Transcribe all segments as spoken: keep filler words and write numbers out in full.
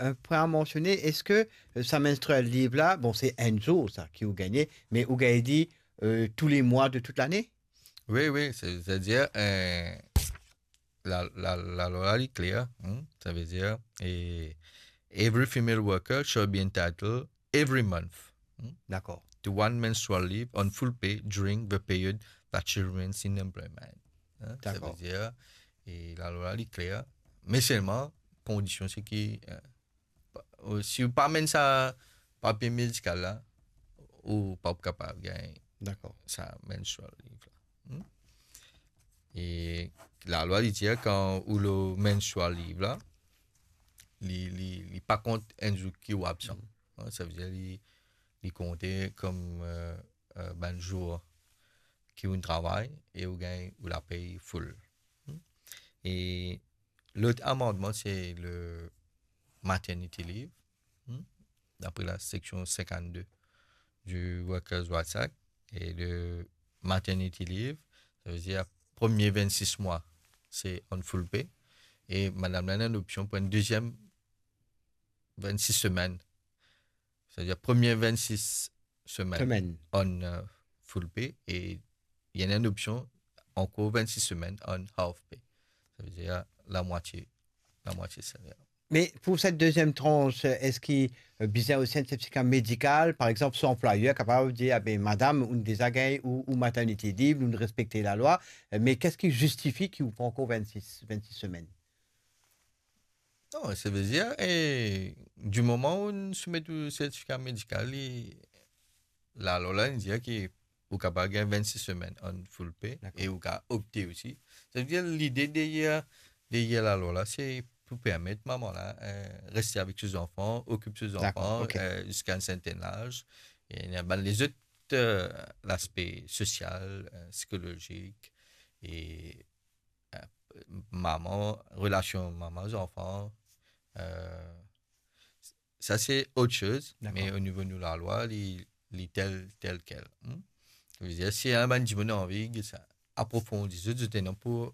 euh, pwin a mansione, eski, euh, sa menstrual leave la, bon, se enn zour sa ki ou gagne, me ou gagne li, euh, tou le mwa de tout lane? Wi, wi, se, setadir, euh, la, la, lalwa la, li kler, hmm, savedir, e, every female worker shall be entitled every month, hmm, Dakor. to one menstrual leave on full pay during the period that she remains in employment. Hein, Dakor. Savedir, e lalwa la, li kler, me selman, kondision se ki, euh, pa-, ou, si ou pa amenn sa papie medikal la, ou pa pou kapav gagn Dakor. sa menstrual leave la. Hmm? E lalwa, li dir kan ou lor menstrual leave la, li, li, li pa kont enn zour ki ou absan. Hmm. Hein, savedir li, li konte kom, euh, euh, bann zour ki ou travay e ou gagn ou lapey full. Hmm? E lot amandman, se le maternity leave, hmm, dapre la seksion sinkannde du Workers' Rights Act, e le maternity leave, savedir premie vennsis mwa, se on full pay, e madam la ena enn opsion pou enn deziem vennsis semenn. Savedir premie vennsis semenn Semenn. on, euh, full pay, e li ena enn opsion ankor vennsis semenn on half pay. Savedir lamwatie, lamwatie saler. Me pou set deziem trans, eski, euh, bizin osi enn sertifika medikal? Par exanp, so anplwayer kapav dir, "Ah be, madam, ou deza gagn ou, ou maternity leave, nou respekte lalwa, euh, me ki sa ki zistifi ki ou pran ankor vennsis, vennsis semenn?" Non, savedir, e, di moman ou soumet ou sertifika medikal, li, lalwa la, li dir ki ou kapav gagn vennsis semenn on full pay Dakor. e ou kapav opte osi. Savedir, lide deryer, deryer lalwa la, se pou permet mama la, eh, reste avek so zanfan, okip so Dakor, zanfan, ok. eh, ziska enn serten laz. E ena bann lezot, eh, laspe sosial, eh, psikolozik, e, eh, mama, relasion mama-zanfan, eh, sa se ot soz, Dakor. me o nivo nou lalwa, li, li tel, tel kel. Hmm? Savedir, si enn bann dimoun anvi, sa, aprofondi, zot, zot ena pou,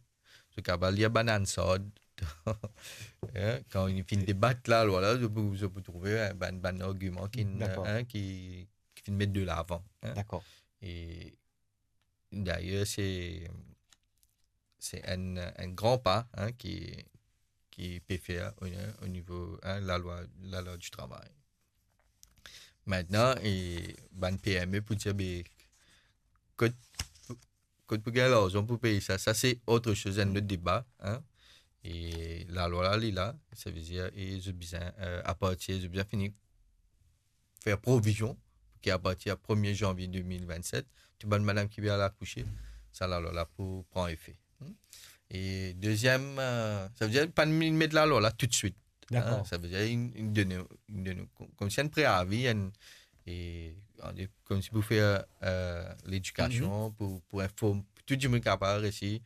zot kapav lir bann Hansard. Hein, kan li finn debat lalwa la, zot pou, zot pou trouve, hein, bann, bann argiman ki, Dakor. hein, ki, ki finn met de lavan, hein. Dakor. E dayer, se, se enn, enn gran pa, hein, ki, ki pe fer o, o nivo, hein, lalwa, lalwa di travay. Aster, e bann P M E pou dir, be, kot, kot pou gagn larzan pou pey sa, sa se ot soz, enn lot deba, hein. E lalwa la, li la, savedir, e zot bizin, eh, apartir, zot bizin fini fer provizion pou ki apartir premie zanvie de mil vennset, tou bann madam ki pe al akouse, sa lalwa la pou pran efe. Hmm? E deziem, eh, savedir, pa met lalwa la toutswit. Dakor. Hein, savedir, li, li donn, li donn kom, koumsi enn preavi, enn, e, koumsi pou fer, eh, ledikasion, Mhm. pou, pou inform, pou tou dimoun kapav resi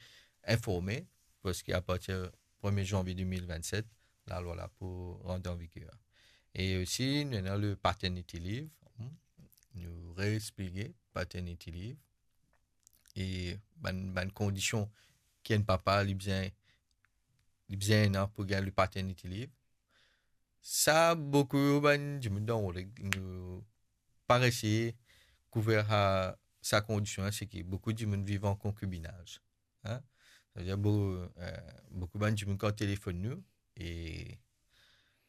informe, parski apartir premie zanvie de mil vennset, lalwa la pou rant an viger. E osi, nou ena le paternity leave, hmm, nou reexplike paternity leave, e bann, bann kondision ki enn papa li bizin, li bizin ena pou gagn le paternity leave. Sa, boukou bann dimoun dan rod, nou pa resi kouver sa, sa kondision la, se ki boukou dimoun viv an konkibinaz. Hein? Savedir, bou-, eh, boukou bann dimoun kan telefonn nou, e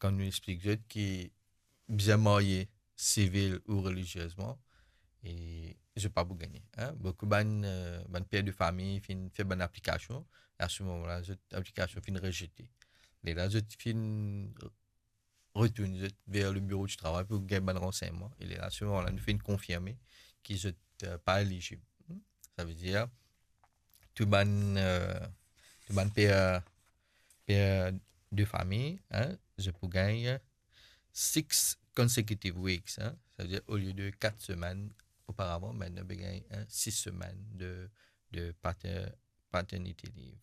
kan nou explik zot ki bizin marye sivil ou reliziezman, e zot pa pou gagne, hein. Boukou bann, eh, bann per de fami finn fer bann aplikasion, e a se moman la, zot aplikasion finn rezete. Lerla zot finn retourn zot ver le biro di travay pou gagn bann ransegnman. E lerla, se moman la, nou finn konfirme ki zot, eh, pa elizib. Hmm? Savedir, tou bann, eh, tou bann per, per de fami, hein, zot pou gagn six consecutive weeks, hein. Savedir, olie de kat semenn oparavan, aster pe gagn, hein, sis semenn de, de pater-, paternity leave.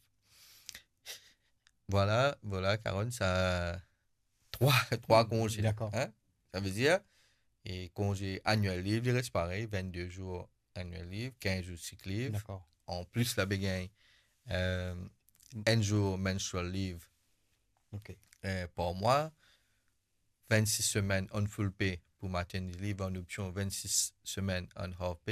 Vwala, vwala, Carole, sa trwa, trwa konze. Dakor. Hein? Savedir, e konze annual leave, li res parey, vennde zour annual leave, kinz zour sick leave. Dakor. Anplis, la pe gagn, eh, enn zour menstrual leave, Ok. eh, par mwa. vennsis semenn an full pay pou maternity leave, an opsion vennsis semenn an half pay.